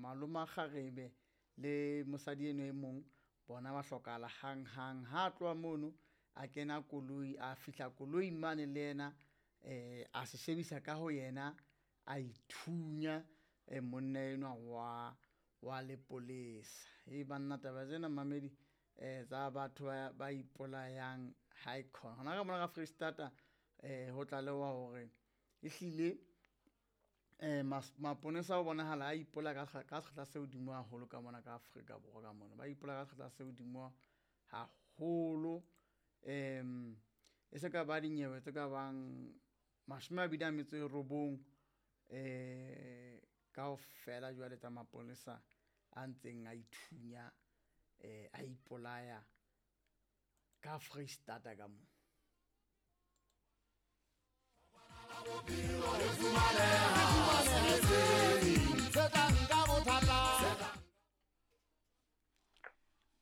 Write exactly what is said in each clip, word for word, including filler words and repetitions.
Maloma kgarebe le mosadi eno e mong bona ba hlokahala hang hang. Ha tloha mono a kena koloi, a fihla koloi mane le yena eh a se shebisa ka ho yena a ithunya eh monna enwa wa wa lepolesa. E banna taba tsena mamedi eh tsa batho ba ba ipolayang ha e khona. Hona ka mona ka Freistata eh ho tlalewa hore ehlile eh maponesa ho bonahala a ipola ka ka sekgahla se hodimo haholo ka mona ka Afrika Borwa ka mona. Ba ipola ka sekgahla se hodimo haholo. Em e se ka ba dinyewe tse ka bang mashome a mabedi a metso e robong eh kaofela jwale tsa maponesa a ntseng a ithunya eh a ipolaya ka Freistata ka mo.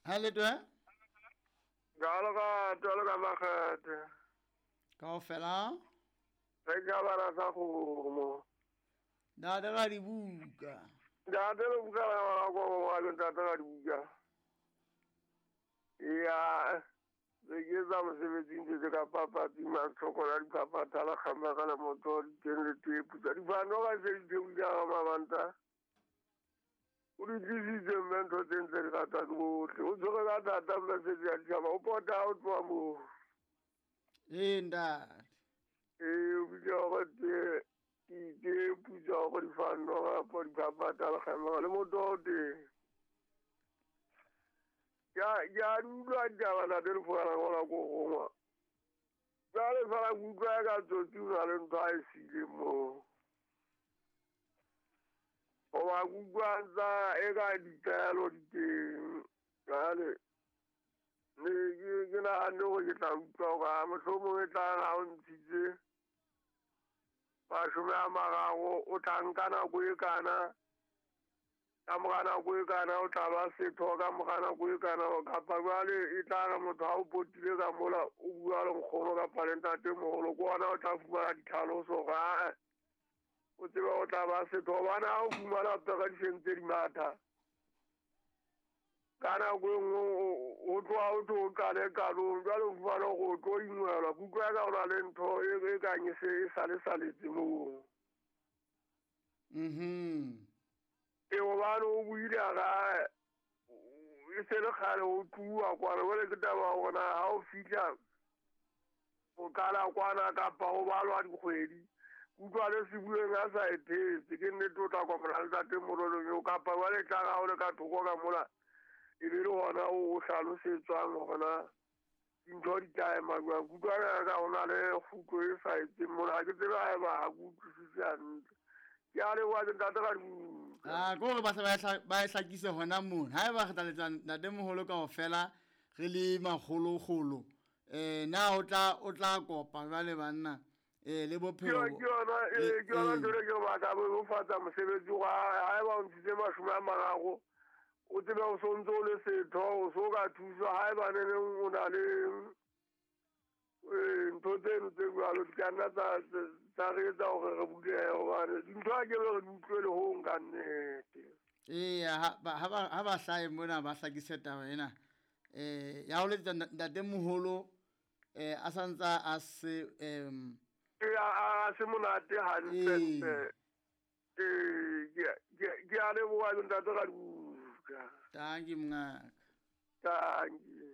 Ha le twe? Jalo ka jalo ka makgethe. Kaofela? Re ka bara sa kgomo. Ntate ra dibuka. Ntate le buka la go wa le ntate ra dibuka. Ya re ke tsa mosebetsing tse ka papatsi matlhoko la dipapatsa la kgama ka la motho di teng le tepu tsa difano ka se di theola ka mabanta. O di tlisitse mme ntho tse ntse di rata ke bohle. O tshwere ka thata mme se di a ditjhaba. O pota o tloha moo. Ee ntate. Ee, o bitsa hore te ditepu tsa hore difano kapa dipapatsa la kgama le motho o teng. Ya ya utlwa ditaba ntate le fana ngola ko rongwa. Jwale fela ke utlwa ka tsotsi o na le ntho a e siileng moo. Hoba ke utlwa ntsa e ka ditaelo di teng. Jwale ne ke ke nahanne hore ke tla utlwa hore ha mohlomong e tla ha o ntshitse mashome a mararo o tla nka nako e kana. Ka mora nako e kana o tla ba setho, ka mora nako e kana kapa jwale e tla re motho ha o potile ka mola o bua le nkgono kapa le ntatemoholo ke ona o tla fumana ditlhaloso hore ae o tsebe o tla ba setho. Hobane ha o fumana pere di sentse di matha ka nako e nngwe o tloha o tlo o qale qalong, jwale o fumana hore o tlo ingwelwa. Ke utlwa ka ho na le ntho e kang e se e sale saletse moo. Mhm. E hobane o buile a ra e se le kgale o tluwa kwana, jwale ke taba ya hore na ha o fihla o qala kwana kapa ho balwa dikgwedi. Utlwa le se bueng a sa e thetse, ke nnete o tla kopana le ntatemoholo eo kapa jwale e tla re ha o le ka thoko ka mola e be le hona o hlalosetswang hore na dintho di tla ema jwang. Ke utlwa ka ho na le kgutlo e sa etseng mona, ha ke tsebe haeba ha ke utlwisise hantle. Ke a leboha ntate ka dibuka. Ah, ke hore ba se ba ba e hlakise hona mono. Haeba re tla letsa ntatemoholo kaofela re le makgolokgolo eh na o tla o tla kopa jwale banna eh le bophelo. Ke yona eh ke yona ntho e ke batla bo fatsa mosebetsi wa haeba o ntshitse mashome a mararo o tsebe o sontso o le setho o so ka thuswa haeba ne neng o na le eh ntho tseno tse jwalo di ka nna tsa tsa re etsa hore re bulehe hobane dintho ha ke be re di utlwele hong ka nnete. Eya ha ba ha ba hlahe mona ba hlakise taba ena eh ya ho letsa ntatemoholo eh a santsa a se em a se monate hantle. Eh ke ke a leboha ntate ka dibuka. Thank you mongaka. Thank you.